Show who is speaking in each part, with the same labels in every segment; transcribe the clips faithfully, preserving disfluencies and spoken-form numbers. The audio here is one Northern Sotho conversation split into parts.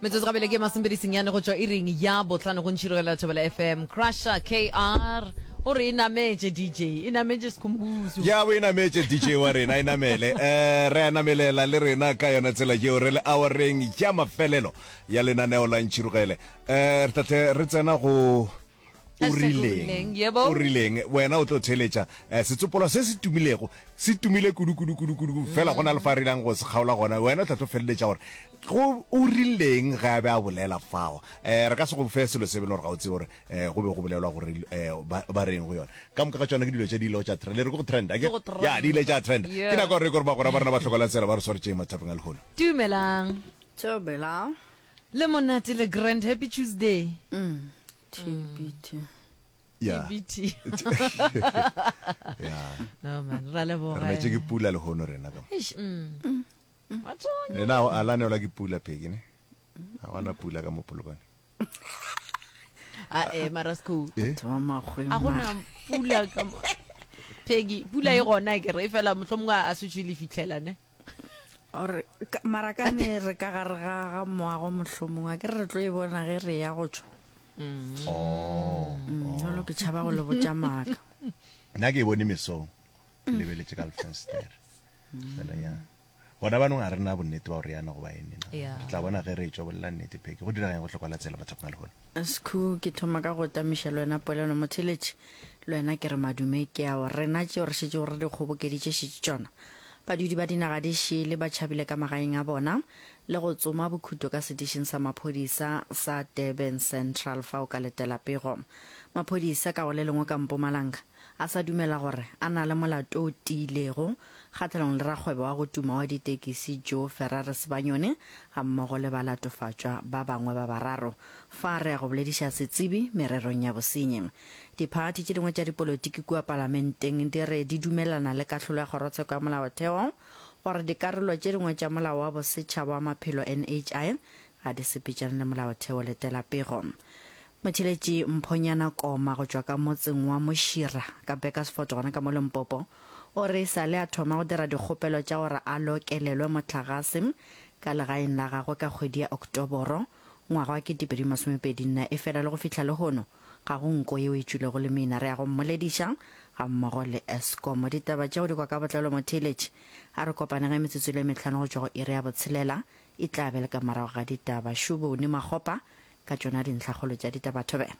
Speaker 1: Metsotso gabele ke masomepedi senyane go tšwa iring ya bohlano go ntšhirogela Thobela F M. Crusher K R o re e nametše D J, e nametše Sekhumbuzo.
Speaker 2: Ya bo e nametše D J wa rena, e namele. um re a namelela le rena ka yona tsela yeo, re le awareng ya mafelelo ya lenaneo la Ntšhirogele. um re tlatle re tsena go o
Speaker 1: Hashtag
Speaker 2: rileng.
Speaker 1: O rileng, yebo.
Speaker 2: O rileng wena? O tlo theletša um setsopolwa se se tumilego, se tumile kudu kudu kudu kudu, fela go na le fa re ilang go se kgaola gona. Wena o tla tlo feleletša gore go o rileng ge a be a bolela fao. um re ka se go fe selo se bele gore ga o tsebe gore um go be go bolelwa gore um ba ba reng go yona. Ka moka ga tsona ke dilo tše di ile tša trend, le re ke go trend ake?
Speaker 1: Ke go trend.
Speaker 2: Ya, di ile tša trend.
Speaker 1: Yeah.
Speaker 2: Ke nako gore re kore bagora ba rena ba hlokola tsela ba re swaretšeng mathapeng a lehono.
Speaker 1: Dumelang.
Speaker 3: Thobela.
Speaker 1: Le monate le grand, happy Tuesday.
Speaker 3: Mm. T B T.
Speaker 2: Ya.
Speaker 1: T B T.
Speaker 2: Ya.
Speaker 1: No man, ra leboga.
Speaker 2: Re netše ke pula lehono rena ka mo.
Speaker 1: Eish, mm. Wa tonya.
Speaker 2: Lena a la neelwa ke pula pheke ne ga gona pula ka mo Polokwane.
Speaker 1: Ah eh mara Sekhu.
Speaker 2: Eh?
Speaker 3: Batho ba makgweng.
Speaker 1: A gona pula ka mo. Peggy, pula e gona ke re fela mohlomongwe a se tšwe le fihlela ne.
Speaker 3: Ore ka- mara ka ne re ka gare ga ga moago, mohlomongwe a ke re re tlo e bona ge re ya go tšwa.
Speaker 2: Oh.
Speaker 3: Mm, jalo ke tšhaba go le botša maaka.
Speaker 2: Nna ke e bone mesong ke lebeletše ka lefenstere fela. Ya gona banong a re na bonnete ba gore yana goba ene na.
Speaker 1: Yeah.
Speaker 2: Re tla bona ge re tswa bolela nnete. Pheke go diragang go hlokola tsela mathapeng a lehono?
Speaker 3: Sekhu, ke thoma ka go tamiša le wena polelo motheletše, le wena ke re madume. Ke ao rena tšeo re šetše gore di kgobokeditše šetše tšona. Badudi ba dinaga di šele ba tšhabile ka magaeng a bona le go tsoma bokhuto ka setišing sa maphodisa sa Durban Central. Fa o ka letela pego, maphodisa ka go le lengwe ka Mpumalanga a sa dumela gore a na le molato o tiilego kgatlhanong le rakgwebo wa go tuma wa ditekisi Joe Ferrari Sebanyone ga mmogo le balatofatšwa ba bangwe ba bararo. Fa re ya go bolediša setsebi mererong ya bosenyi. Diphathi tše dingwe tša dipolotiki kua palamenteng di re di dumelana le kahlolo ya kgorotsheko ya molaotheo gore dikarolo tše dingwe tša molao wa bosetšhaba wa maphelo N H I ga di sepetšane le molaotheo. Letela pego. Motheletši Mphonyana Koma go tšwa ka motseng wa Mošira ka Burgersfort gona ka mo Limpopo o re e sa le a thoma go dira dikgopelo tša gore a lokelelwe mohlagase ka legaeng la gagwe ka kgwedi ya Oktoboro ngwaga wa kete pedi masomepedi nne, e fela le go fihla lehono ga go nko yeo e tšwilego le mina. Re ya go mmolediša ga mmogo le Eskom. Ditaba tšeo di kwa ka botlalo motheletši, a re kopane ge metsotso le metlhano go tšwa go iri ya botshelela e tla be le ka morago ga ditaba. Šubone Makgopa ka tšona dintlhakgolo tša ditaba. Thobela.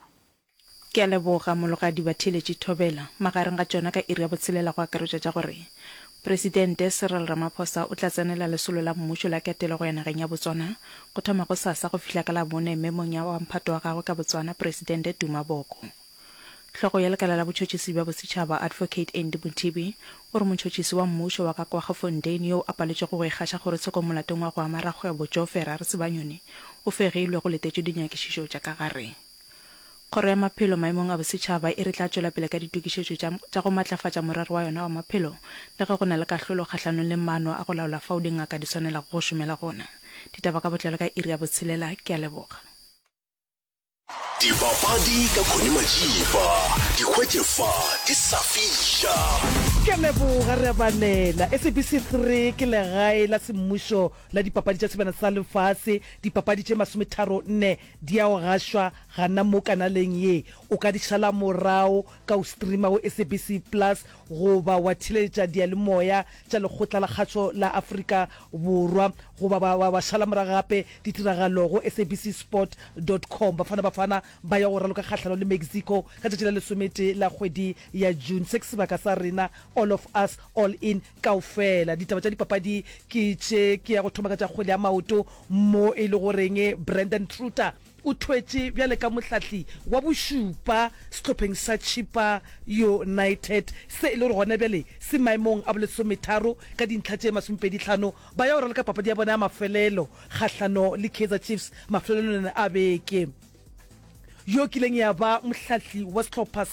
Speaker 4: Ke a leboga mologadi. Batheeletši thobela. Magareng ga tšona ka iri ya botshelela go akaretšwa tša gore Presidente Cyril Ramaphosa o tla tsenela lesolo la mmušo la ketelo go ya nageng ya Botswana go thoma go sasa go fihla ka Labone memong ya wa mphato wa gagwe ka Botswana, Presidente Duma Boko. Hlogo ya lekala la botšhotšhisi bja bosetšhaba, Advocate Andy Mothibi, o re motšhotšhisi wa mmušo wa ka Kwaggafontein yo a paletšego go ikgaša kgorotshekong molatong wa go ama rakgwebo Joe Ferrari Sebanyoni o fegilwe go letetšwe dinyakišišo tša ka gare. Kgoro ya maphelo maemong a bosetšhaba e re tla tšwela pele ka ditokišetšo tša, tša go matlafatša morero wa yona wa maphelo le ge go na le kahlolo kgahlanong le maano a go laola fao dingaka di swanelago go šomela gona. Ditaba ka botlalo ka iri ya botshelela. Ke a leboga.
Speaker 5: Dipapadi ka Connie Majiba, di hwetše fa di sa fiša.
Speaker 6: Ke a leboga, re a balela. S A B C three ke legae la semmušo la dipapadi tša Sebjana sa Lefase. Dipapadi tše masometharo nne di a go gašwa gana mo kanaleng ye. O ka di šala morago ka o streama go S A B C Plus goba wa theeletša diyalemoya tša Lekgotla la Kgašo la Afrika Borwa goba wa, wa, wa šala morago gape ditiragalo go S A B C sport dot com. Bafana Bafana ba ya go raloka kgahlano le Mexico ka tšatši la lesometee la kgwedi ya June. Se ke sebaka sa rena, all of us, all in, kaofela. Ditaba tša dipapadi ke tše. Ke ya go thoma ka tša kgwele ya maoto mo e le goreng Brandon Truter o thwetše bjale ka mohlahli wa bošupa sehlopheng sa Chippa United se e le gore gona bjale se maemong a bolesometharo ka dintlha tše masomepedi hlano. Ba ya go raloka papadi ya bona ya mafelelo kgahlano le Kaizer Chiefs mafelelong a beke. Yo kileng ya ba mohlahli wa sehlopha